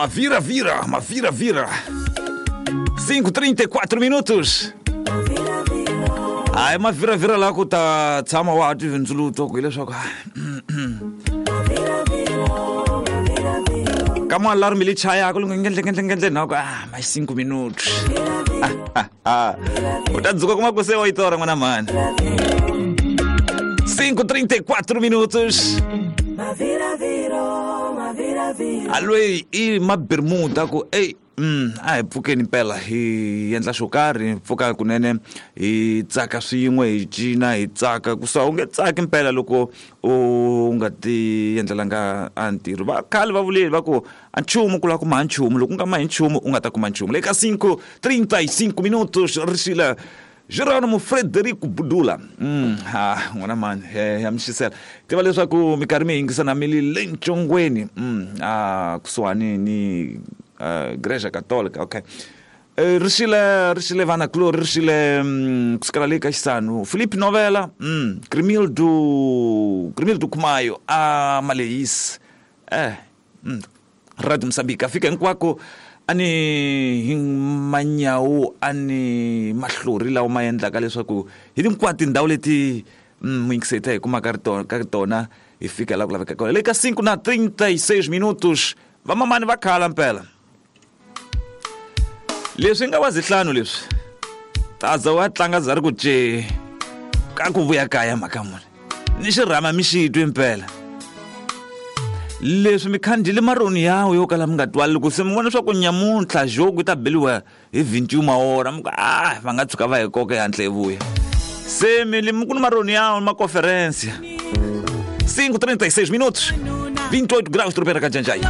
Maviravira, maviravira. 5:34 minutos. Hayi, maviravira la ku ta tshama wa ha twi vindzuluto ku hileswaku ka mo alarm leyi chayaka loko ngendle na ku ah mais 5 minutos, u ta dzuka kuma ku se wa yi tora n'wana mhani. 5:34 minutos. Alweyi i mabermuda ku ey, a hi pfukeni mpela hi endla xo karhi, hi pfuka kunene hi tsaka swin'we, hi cina, hi tsaka ku sa u nge tsaki mpela loko u nga ti endlelanga a ntirho. Va khale va vuleli va ku a nchumu ku lava ku maha nchumu, loko u nga mahi nchumu u nga ta kuma nchumu. Le ka 5:35 minutos rixile Geronimo Frederico Budula. Ha n'wana mani, ya mi xisela tiva leswaku minkarhi mi yingisa na mi li le ncongweni, a kusuhani ni Igreja Católica. Okay. Rixile, rixile vana kulori, rixile kusukela le ka xisanu Philip Novela, Grimildo, Grimildo Kumayo a Malehisi, Radio Mosambiki a fika hinkwako a ni hi manyawu a ni mahlori lawa ma endlaka leswaku hi hinkwato tindhawu leti muyingiseta hi kumaka ri tona ka tona hi fika laha ku laveka kona. Le ka 5 na 36 minutos, vamamani va khala mpela leswi nga wa zihlanu leswi taza wa tlanga za ri ku ce ka ku vuya kaya mhaka muni ni xirhama mi xi twi mpela leswi mi khandzile maroni yawo yo kala mi nga twali loko se mi vona leswaku nyamuntlha joku yi ta beliwa hi 21 maora mi ku a va nga tshuka va hi koka ehandle hi vuya se mi li mi ku ni maroni yawo ma conferência. 5:36 minutos, 28 graus, tropera ka Janjai.